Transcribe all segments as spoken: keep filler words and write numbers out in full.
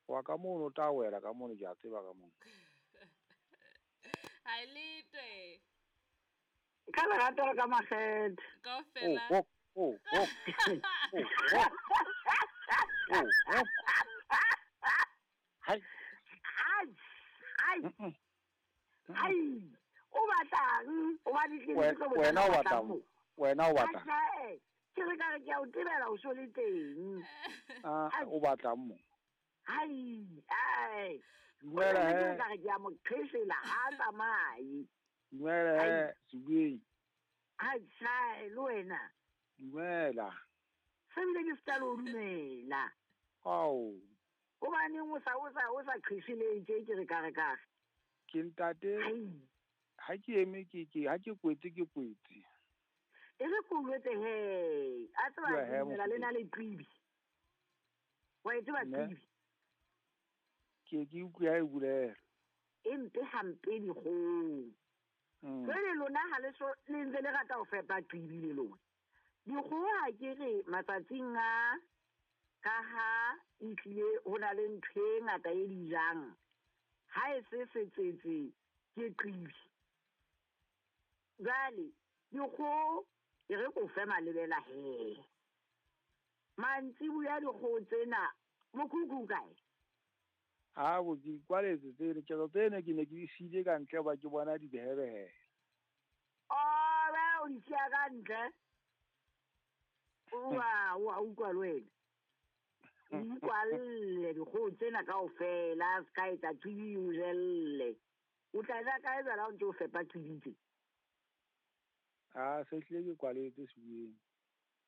Wa ka mono o tla wela ka mono ke a tseba ka mono. Ha e letwe. Ka lerato le ka makgethe. Kaofela. Oh, oh, oh, oh, oh, oh, oh. Hai. Ai, ai. Ai. O batlang, o ba ditlile tlo botsa Wena o batlang. Wena o batlang. Ai, ke re ka re ke a o tebela o so le teng. Ah, o batlang mo. Ai, ai. Dumela Ke he. ka re ke a mo qhesela ha a tsamaye. Dumela he, Sebeng. Ai, sai le wena. Dumela. Se bile ke se tla o dumela. Ao. Hobaneng o sa o sa o sa qhesele tje ke re ka re ka re. Ke ntate. Ai. Ha ke eme ke ke ha ke kwetse ke kwetse. E re ke o jwetse he, a tseba Bua he, ke dumela le mofokedi. na le qibi. Wa e tseba Ne. qibi? Ke ke utlwe ha e bulela. E mpe hampe dikgoho. Mm. Jwale lona ha le so le ntse le rata ho fepa qibi le lona. Dikgoho ha ke re matsatsing a ka ha e tlile ho na le ntho e ngata e di jang. Ha e se setsetse ke qibi. Jwale dikgoho e re ko fe malebela he. Mantsibuya dikgoho tsena mokhukhu o kae? Ha bo ke kwaletse tsene, ketso tsene ke ne ke di siile ka ntle hoba ke bona di behebehe. Oh, ba o di siya ka ntle. Wa, wa utlwa le wena. O ikwalle dikgoho tsena kaofela, se ka etsa qibi o jelle. O tla ja kae jwale ha o ntse o fepa qibi tse? Ah, se hlile ke kwaletse Sebeng.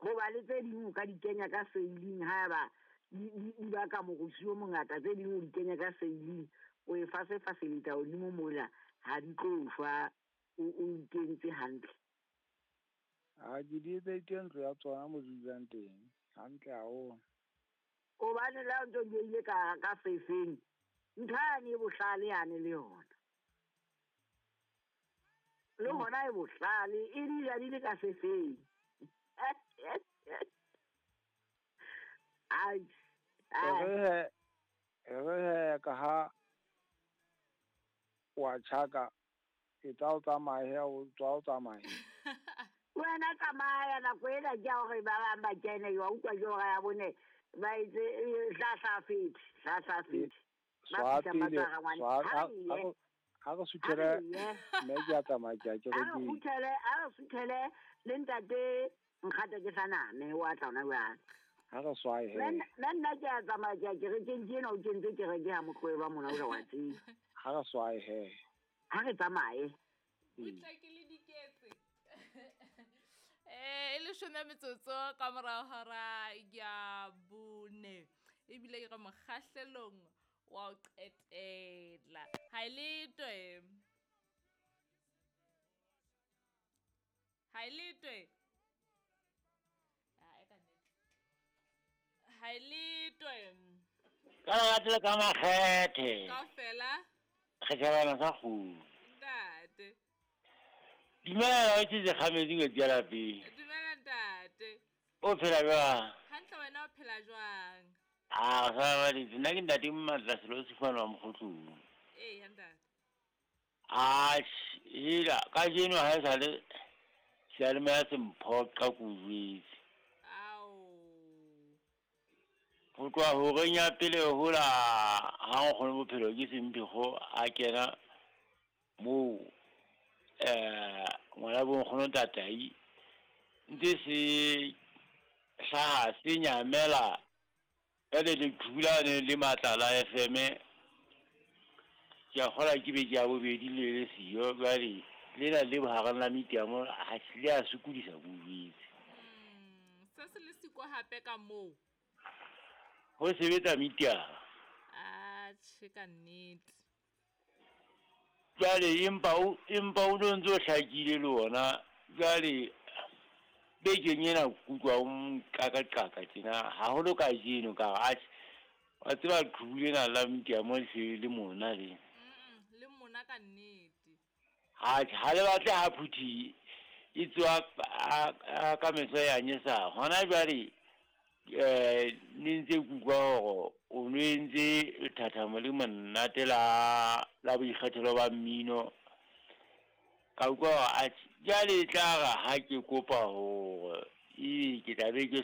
Hoba le tse ding o ka di kenya ka seiling haeba di, di, di baka morusu o mongata, tse ding o di kenya ka seiling, o e fasefaseletsa hodimo mola, ha di tlo shwa, o, o ikentse hantle. Ah, ke di etseditse ntlo ya tsona mo di dulang teng, hantle haholo. Hobane le ha o ntso di behile ka, ka sefeng, ntho yane e bohlale yane le yona. Le hona e bohlale, e di ja di le ka sefeng. Ai, E ai. re he, e re he ka ha wa tjhaka, e tla o tsamaye, o tswa o tsamaye. Wena tsamaya nako ena ke ya hore ba bang ba kene, wa utlwa ke hora ya bone, ba itse, eh, hlahla fete, hlahla fete. Ba Swa fihla ba pele, tshwara ngwana. swa, Ha ha, re ha ye. re, ha re Ha suthele, re ye. mme ke a tsamaya, ke a Ha re kerekeng. kgutlele, ha re suthele le ntate Nkgata ke saname, wa tla hona jwale. Ha re swae he. Nna, nna nna ke a tsamaya, ke a kerekeng, ke ena o kentse kereke ha motloe ba mona, o wa tseba. Ha re swae he. Ha re tsamaye. Butla ke le diketse. Eh, e leshome metsotso ka morao hora ya bone. Ebile ke re mokgahlelong wa ho qetela. Ha e letwe. Ha e letwe. Ah, e ka nnete. Ha e letwe. Ka lerato le ka makgethe. Kaofela. Re tjhabana sa kgudu. Ntate. Dumela, o tjhese kgametse ngwetsi ya lapeng. Dumela ntate. O phela jwang? Hantle, wena o phela jwang? Ah, o sa baditse. Nna ke ntate Mmatla Selo Sefane wa Mokgotlong. Ee, ntate. Ah, hela, kajeno ha e sale seyalemoya se mphoqa ke o jwetse. Ao. Ho tloha horeng ya pele hola ha nkgono bophelo ke Semphekgo a kena moo, eh, ngwana bo nkgono Tatai, ntse se hlaha se nyamela jwale leqhubu lane le matla la F M, ke a kgolwa ke beke ya bobedi le le siyo, jwale lena le bohareng la mitiamo ha se le a sokodisa ke o jwetse. Mm, se se le siko hape ka moo. Ho sebetsa mitiamo. Atjhe, ka nnete. Jwale empa o, empa o no ntso hlakile le ona. Jwale bekeng ena ke utlwa o nqakaqaka tjena, haholo kajeno ka re, atjhe, wa tseba leqhubu lena la mitiamo le se le mona le. Mm, le mona ka nnete. Atjhe, ha le batle ha phuthi e tswa a, a, ka meso ya nyesa. Hona jwale eh ne ntse ke utlwa hore o no entse lethathamo le monate la la boikgethelo ba mmino. Ka utlwa hore atjhe jwale e tla re ha ke kopa hore ebe ke tla be ke